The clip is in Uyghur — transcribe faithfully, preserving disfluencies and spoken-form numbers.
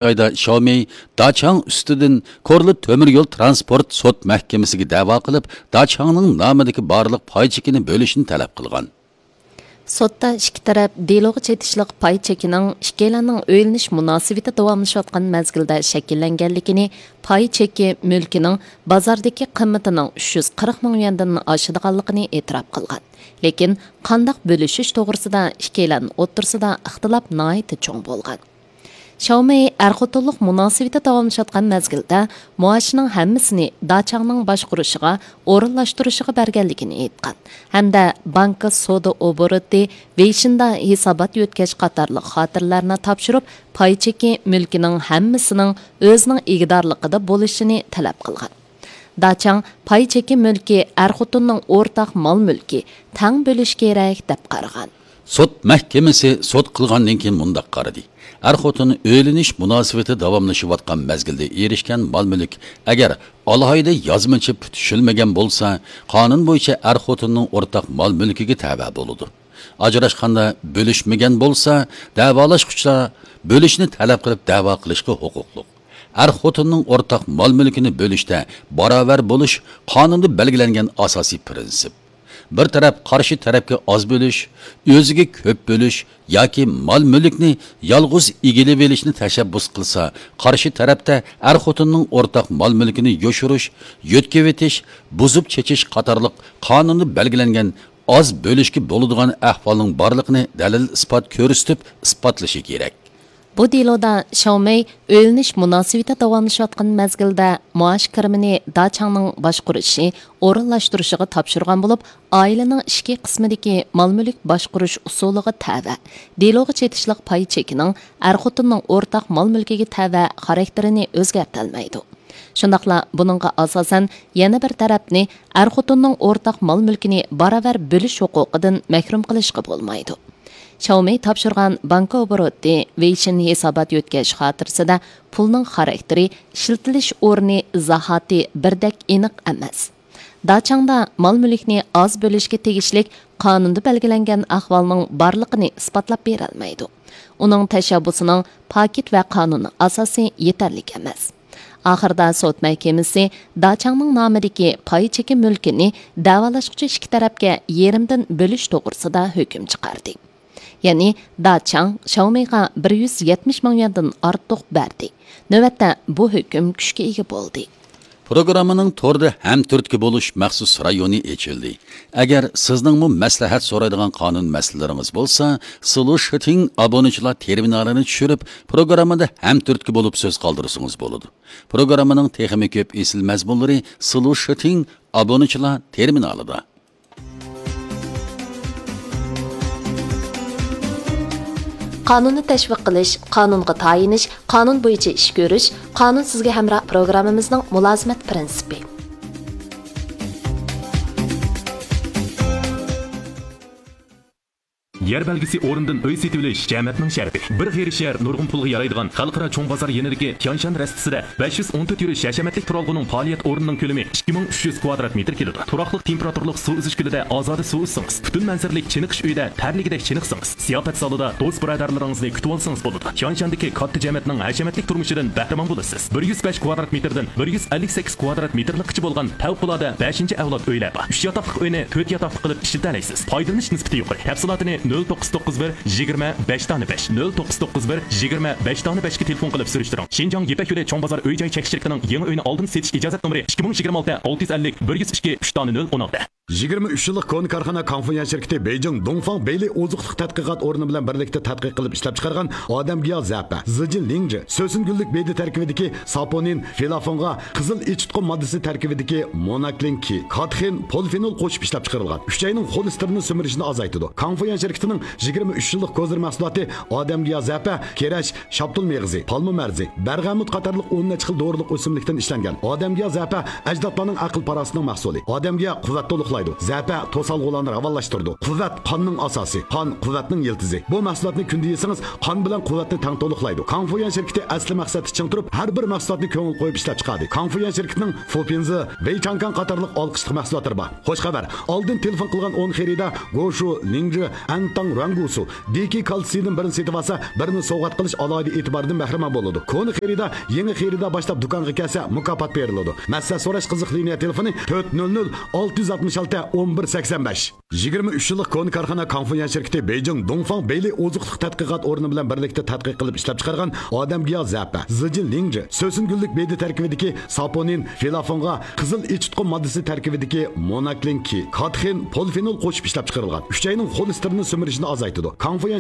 ئايدا شياۋمېي داچاڭ ئۈستىدىن كورلا تۆمۈر يول ترانسپورت سوت مەھكىمىسىگە دەۋا قىلىپ، داچاڭنىڭ نامىدىكى بارلىق پاي چېكىنى بۆلۈشنى تەلەپ قىلغان. سوتتا ئىككى تەرەپ دېلوغا چېتىشلىق پاي چېكىنىڭ ئىككىيلەننىڭ ئۆيلىنىش مۇناسىۋىتى داۋاملىشىۋاتقان مەزگىلدە شەكىللەنگەنلىكىنى، پاي چېكى مۈلكىنىڭ بازاردىكى قىممىتىنىڭ ئۈچ يۈز قىرىق مىڭ يۈەندىن ئاشىدىغانلىقىنى ئېتىراپ قىلغان. لېكىن قانداق بۆلۈشۈش توغرىسىدا ئىككىيلەن ئوتتۇرىسىدا ئىختىلاپ ناھايىتى چوڭ بولغان. شياۋمېي ئەر-خوتۇنلۇق مۇناسىۋىتى داۋاملىشىۋاتقان مەزگىلدە مائاشىنىڭ ھەممىسىنى داچاڭنىڭ باشقۇرۇشىغا ئورۇنلاشتۇرۇشىغا بەرگەنلىكىنى ئېيتقان ھەمدە بانكا سودا ئوبوروتى، ۋېيشىندا ھېسابات يۆتكەش قاتارلىق خاتىرىلەرنى تاپشۇرۇپ، پاي چېكى مۈلكىنىڭ ھەممىسىنىڭ ئۆزىنىڭ ئىگىدارلىقىدا بولۇشىنى تەلەپ قىلغان. داچاڭ پاي چېكى مۈلكى ئەر-خوتۇننىڭ ئورتاق مال-مۈلكى، تەڭ بۆلۈش كېرەك، دەپ قارىغان. سوت مەھكىمىسى سوت قىلغاندىن كېيىن مۇنداق قارىدى: ئەر-خوتۇن ئۆيلىنىش مۇناسىۋىتى داۋاملىشىۋاتقان مەزگىلدە ئېرىشكەن مال-مۈلۈك ئەگەر ئالاھىدە يازمىچە پۈتۈشۈلمىگەن بولسا، قانۇن بويىچە ئەر-خوتۇننىڭ ئورتاق مال-مۈلكىگە تەۋە بولىدۇ. ئاجراشقاندا بۆلۈشمىگەن بولسا، دەۋالاشقۇچىلار بۆلۈشنى تەلەپ قىلىپ دەۋا قىلىشقا ھوقۇقلۇق. ئەر-خوتۇننىڭ ئورتاق مال-مۈلكىنى بۆلۈشتە باراۋەر بولۇش قانۇندا بەلگىلەنگەن ئاساسىي پىرىنسىپ. بىر تەرەپ قارشى تەرەپكە ئاز بۆلۈش، ئۆزىگە كۆپ بۆلۈش ياكى مال-مۈلۈكنى يالغۇز ئىگىلىۋېلىشنى تەشەببۇس قىلسا، قارشى تەرەپتە ئەر-خوتۇننىڭ ئورتاق مال-مۈلكىنى يوشۇرۇش، يۆتكىۋېتىش، بۇزۇپ چېچىش قاتارلىق قانۇندا بەلگىلەنگەن ئاز بۆلۈشكە بولىدىغان ئەھۋالنىڭ بارلىقىنى دەلىل-ئىسپات كۆرسىتىپ ئىسپاتلىشى كېرەك. بۇ دېلودا شياۋمېي ئۆيلىنىش مۇناسىۋىتى داۋاملىشىۋاتقان مەزگىلدە مائاش كىرىمىنى داچاڭنىڭ باشقۇرۇشى ئورۇنلاشتۇرۇشىغا تاپشۇرغان بولۇپ، ئائىلىنىڭ ئىچكى قىسمىدىكى مال-مۈلۈك باشقۇرۇش ئۇسۇلىغا تەۋە دېلوغا چېتىشلىق پاي چېكىنىڭ ئەر-خوتۇننىڭ ئورتاق مال-مۈلكىگە تەۋە خاراكتېرىنى ئۆزگەرتەلمەيدۇ. شۇنداقلا بۇنىڭغا ئاساسەن يەنە بىر تەرەپنى ئەر-خوتۇننىڭ ئورتاق مال-مۈلكىنى باراۋەر بۆلۈش ھوقۇقىدىن مەھرۇم قىلىشقا بولمايدۇ. شياۋمېي تاپشۇرغان بانكا ئوبوروتى، ۋېيشىن ھېسابات يۆتكەش خاتىرىسىدە پۇلنىڭ خاراكتېرى، ئىشلىتىلىش ئورنى، زاھاتى بىردەك ئېنىق ئەمەس. داچاڭدا مال-مۈلۈكنى ئاز بۆلۈشكە تېگىشلىك قانۇندا بەلگىلەنگەن ئەھۋالنىڭ بارلىقىنى ئىسپاتلاپ بېرەلمەيدۇ. ئۇنىڭ تەشەببۇسىنىڭ پاكىت ۋە قانۇنىي ئاساسى يېتەرلىك ئەمەس. ئاخىرىدا سوت مەھكىمىسى داچاڭنىڭ نامىدىكى پاي چېكى مۈلكىنى دەۋالاشقۇچى ئىككى تەرەپكە يېرىمدىن بۆلۈش توغرىسىدا ھۆكۈم چىقاردى. يەنى داچاڭ شياۋمېيغا بىر يۈز يەتمىش مىڭ يۈەندىن ئارتۇق بەردى. نۆۋەتتە بۇ ھۆكۈم كۈچكە ئىگە بولدى. پروگراممىنىڭ توردا ھەمتۈرتكە بولۇش مەخسۇس رايونى ئېچىلدى. ئەگەر سىزنىڭمۇ مەسلىھەت سورايدىغان قانۇن مەسىلىلىرىڭىز بولسا، سلۇشىتىڭ ئابۇنىچىلار تېرمىنالىنى چۈشۈرۈپ، پروگراممىدا ھەمتۈرتكە بولۇپ سۆز قالدۇرسىڭىز بولىدۇ. پروگراممىنىڭ تېخىمۇ كۆپ ئېسىل مەزمۇنلىرى سلۇشىتىڭ ئابۇنىچىلار تېرمىنالىدا. قانۇننى تەشۋىق قىلىش، قانۇنغا تايىنىش، قانۇن بويىچە ئىش كۆرۈش، قانۇن سىزگە ھەمراھ پروگراممىمىزنىڭ مۇلازىمەت پىرىنسىپى. يەر بەلگىسى ئورنىدىن ئۆي سېتىۋېلىش جەمەتنىڭ شەرىپى. بىر غېرىب شەھەر نۇرغۇن پۇلغا يارايدىغان خەلقئارا چوڭ بازار يېنىدىكى تيانشان رەستىسىدە بەش يۈز ئون تۆت يۈرۈش ھەشەمەتلىك تۇرالغۇنىڭ پائالىيەت ئورنىنىڭ كۆلىمى ئىككى مىڭ ئۈچ يۈز كۋادرات مېتىر كېلىدۇ. تۇراقلىق تېمپېراتۇرىلىق سۇ ئۈزۈش كۆلىدە ئازادە سۇ ئۈزسىڭىز، پۈتۈن مەنزىرىلىك چېنىقىش ئۆيىدە تەرلىگۈدەك چېنىقسىڭىز، زىياپەت زالىدا دوست-بۇرادەرلىرىڭىزنى كۈتۈۋالسىڭىز بولىدۇ. تيانشاندىكى كاتتا جەمەتنىڭ ھەشەمەتلىك تۇرمۇشىدىن بەھرىمەن بولىسىز. بىر يۈز بەش كۋادرات مېتىردىن بىر يۈز ئەللىك سەككىز كۋادرات مېتىرلىققىچە بولغان پەۋقۇلئاددە بەشىنچى ئەۋلاد ئۆيلەر بار. ئۈچ ياتاقلىق ئۆينى تۆت ياتاقلىق قىلىپ ئىشلىتەلەيسىز. پايدىلىنىش نىسبىتى يۇقىرى. تەپسىلاتىنى نۆل توققۇز توققۇز بىر يىگىرمە بەش دانە بەش، نۆل توققۇز توققۇز بىر يىگىرمە بەش دانە بەشكە تېلېفون قىلىپ سۈرۈشتۈرۈڭ. شىنجاڭ يىپەك يولى چوڭ بازار ئۆي جاي چەك شىركىتىنىڭ يېڭى ئۆينى ئالدىن سېتىش ئىجازەت نومۇرى ئىككى مىڭ يىگىرمە ئالتە ئالتە يۈز ئەللىك بىر يۈز ئىككى ئۈچ دانە نۆل ئون ئالتە. يىگىرمە ئۈچ يىللىق كونا كارخانا كاڭفۇيۈەن شىركىتى بېيجىڭ دۇڭفاڭ بېيلى ئوزۇقلۇق تەتقىقات ئورنى بىلەن بىرلىكتە تەتقىق قىلىپ ئىشلەپچىقارغان ئادەمگىياھ زەپە، زىجىن لىڭجى، سۆسۈن گۈللۈك بېدە تەركىبىدىكى ساپونىن، فىلافونغا، قىزىل ئېچىتقۇ ماددىسى تەركىبىدىكى موناكلىن كى، كاتېخىن، پولىفېنول قوشۇپ ئىشلەپچىقىرىلغان ئۈچەينىڭ خولېستېرىننى سۈمۈرۈشنى ئازايتىدۇ. كاڭفۇيۈەن شىركىتىنىڭ يىگىرمە ئۈچ يىللىق كوزىر مەھسۇلاتى ئادەمگىياھ زەپە، كېرەش، شاپتۇل مېغىزى، پالما مەرزى، بەرغەمۇت قاتارلىق ئون نەچچە خىل دورىلىق ئۆسۈملۈكتىن ئىشلەنگەن. ئادەمگىياھ زەپە ئەجدادلارنىڭ ئەقىل-پاراسىتىنىڭ مەھسۇلى. ئادەمگىياھ قۇۋۋەت تولۇقلايدۇ. زەپە توسالغۇلارنى راۋانلاشتۇرىدۇ. قۇۋۋەت قاننىڭ ئاساسى، قان قۇۋۋەتنىڭ يىلتىزى. بۇ مەھسۇلاتنى كۈندە يېسىڭىز، قان بىلەن قۇۋۋەتنى تەڭ تولۇقلايدۇ. كاڭفۇيۈەن شىركىتى ئەسلى مەقسەتتە چىڭ تۇرۇپ، ھەر بىر مەھسۇلاتنى كۆڭۈل قويۇپ ئىشلەپ چىقاردى. كاڭفۇيۈەن شىركىتىنىڭ فۇپىنزى، ۋېيچاڭكاڭ قاتارلىق ئالقىشلىق مەھسۇلاتلىرى بار. خوش خەۋەر! ئالدىن تېلېفون قىلغان ئون خېرىدار گوشۇ، لىڭجى، ئەنتاڭ رۇەنگۇسۇ، دېكى كالتسىيدىن بىرنى سېتىۋالسا، بىرنى سوۋغات قىلىش ئالاھىدە ئېتىبارىدىن بەھرىمەن بولىدۇ. كونا خېرىدار، يېڭى خېرىدار باشلاپ دۇكانغا كەلسە، مۇكاپات بېرىلىدۇ. مەسلىھەت سوراش قىزىق لىنىيە تېلېفونى تۆت نۆل نۆل ئالتە يۈز ئاتمىش ئالتە ئون بىر سەكسەن بەش. يىگىرمە ئۈچ يىللىق كونا كارخانا كاڭفۇيۈەن شىركىتى بېيجىڭ دۇڭفاڭ بېيلى ئوزۇقلۇق تەتقىقات ئورنى بىلەن بىرلىكتە تەتقىق قىلىپ ئىشلەپچىقارغان ئادەمگىياھ زەپە، زىجىن لىڭجى، سۆسۈن گۈللۈك بېدە تەركىبىدىكى ساپونىن، فىلافونغا، قىزىل ئېچىتقۇ ماددىسى تەركىبىدىكى موناكلىنكى، كاتخىن، پولفېنول قوشۇپ ئىشلەپچىقىرىلغان. ئۈچەينىڭ خولېستېرىننى سۈمۈرۈشىنى ئازايتىدۇ. كاڭفۇيۈەن